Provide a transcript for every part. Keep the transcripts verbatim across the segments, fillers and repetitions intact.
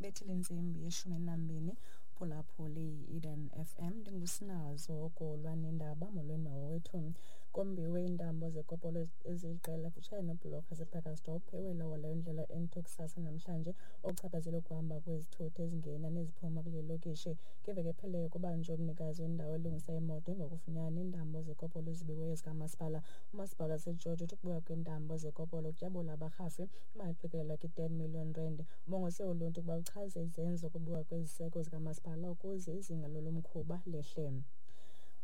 Ibethile intsimbi yeshumi nambini phulaphuli Eden F M. Ndingusinazo okolwa nendaba. Molweni mawethu. Kombiwe iintambo zekopolo eziliqela kutshaya nebhulorho yasePacaltsdorp ewela waleyo ndlela N two kusasa namhlanje, okuchaphazela ukuhamba kwezithuthi ezingena neziphuma kule lokishi. Ngeveki ephelileyo kubanjwe umnikazi wendawo elungisa imoto emva kokufunyanwa iintambo zekopolo ezibiweyo zikamasipala. Umasipala waseGeorge uthi ukubuya kweentambo zekopolo kutyabula abarhafi imali eqikelelwa kwi-ten million rand. Ubongoze uluntu ukuba luchaze izenzo zokubiwa kweziseko zikamasipala ukuze izinga lolo mkhuba lehle.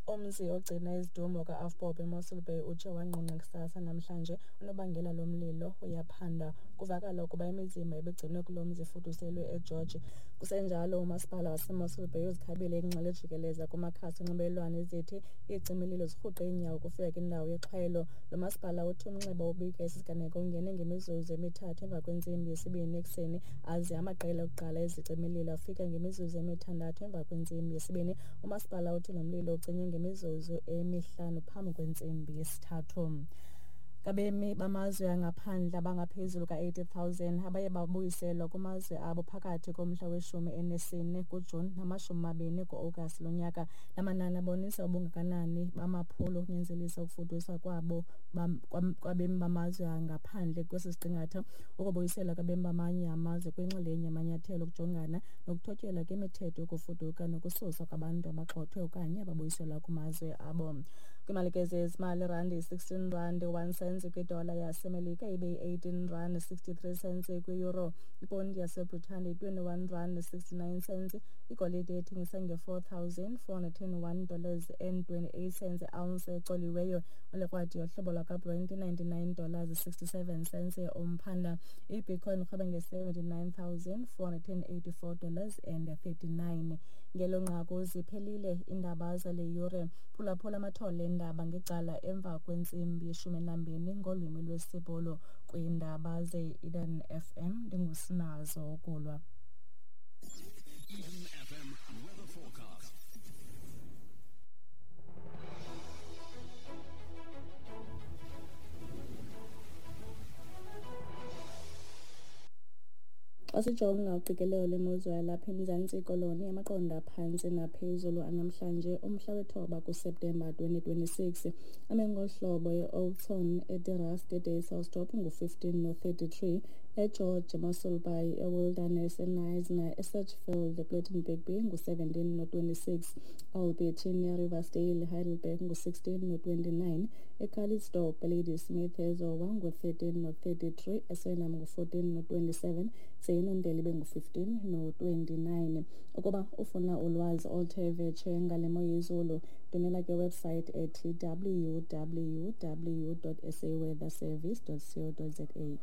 Umzi ogcina izidumbu ka-AVBOB eMossel Bay utshe wangqungqa kusasa namhlanje. Unobangela lomlilo uyaphanda. Kuvakala ukuba imizimba ebigcinwe kulo mzi ifuduselwe eGeorge. Kusenjalo, umasipala waseMossel Bay uzikhabile iingxelo ejikeleza kumakhasi onxibelelwano ezithi iicimililo zirhuqe iinyawo ukufika kwindawo yexhwayelo. Lo masipala uthi umnxeba obika esi siganeko ungene ngemizuzu emithathu emva kwentsimbi yesibini ekuseni, aze amaqela okuqala ezicimililo afika ngemizuzu emithandathu emva kwentsimbi yesibini. Umasipala uthi lo mlilo ucinywe ngemizuzu emihlanu phambi kwentsimbi yesithathu. Ngabemi bamazwe angaphandle abangaphezulu ka-eighty thousand abaye babuyiselwa kumazwe abo phakathi komhla weshumi enesine kuJuni namashumi amabini ku-Agasti lonyaka. La manani abonisa ubungakanani bamaphulo okunyanzelisa ukufuduswa kwabo kwabemi bamazwe angaphandle kwesi siqingatha. Ukubuyiselwa kwabemi bamanye amazwe kwinxalenye yamanyathelo okujongana nokuthotyelwa kwemithetho yokufuduka nokususwa kwabantu abagxothwe okanye ababuyiselwa kumazwe abo. Kwimalike zezimali, irandi yi-sixteen rand one cent kwidola yaseMelika, ibe yi-eighteen rand sixty-three cents kwi-euro. Iponti yaseBritane yi-twenty-one rand sixty-nine cents. Igolide ethengisa nge-four thousand four hundred and one dollars and twenty-eight cents ounce ecoliweyo. Ulikrwadi yohlobo lwakaBrent ninety-nine dollars sixty-seven cents umphanda. IBitcoin irhweba nge-seventy-nine thousand four hundred and eighty-four dollars and thirty-nine. Ngelo nqaku ziphelile iindaba zale yure. Phulaphula amathole eendaba ngecala emva kwentsimbi yeshumi nambini ngolwimi lwesiBhulu kwiindaba ze-Eden F M. Ndingusinazo Okulwa. Eden F M weather forecast. Xa sijonga uqikelelo lwemozulu yalapha eMzantsi Koloni, amaqondo aphantsi naphezulu anamhlanje umhla wethoba kuSeptemba twenty twenty-six ame ngolu hlobo: eOudtshoorn, eDeRust, eDysselsdorp ngu-fifteen no-thirty-three, eGeorge, eMossel Bay, eWilderness, eKnysna, eSedgefield, ePlettenberg Bay ngu-seventeen no-twenty-six, Albertina, eRiversdale, Heidelberg ngu-sixteen no-twenty-nine, eCalitzdorp, eLadysmith, eZowa ngu-thirteen no-thirty-three, eSenam ngu-fourteen no-twenty-seven, Zeyinondele ibe ngu-fifteen no-twenty-nine. Ukuba ufuna ulwazi oluthe vetshe ngale mo yezulu, ndumela kwiwebsite ethi w w w dot s a weather service dot co dot z a.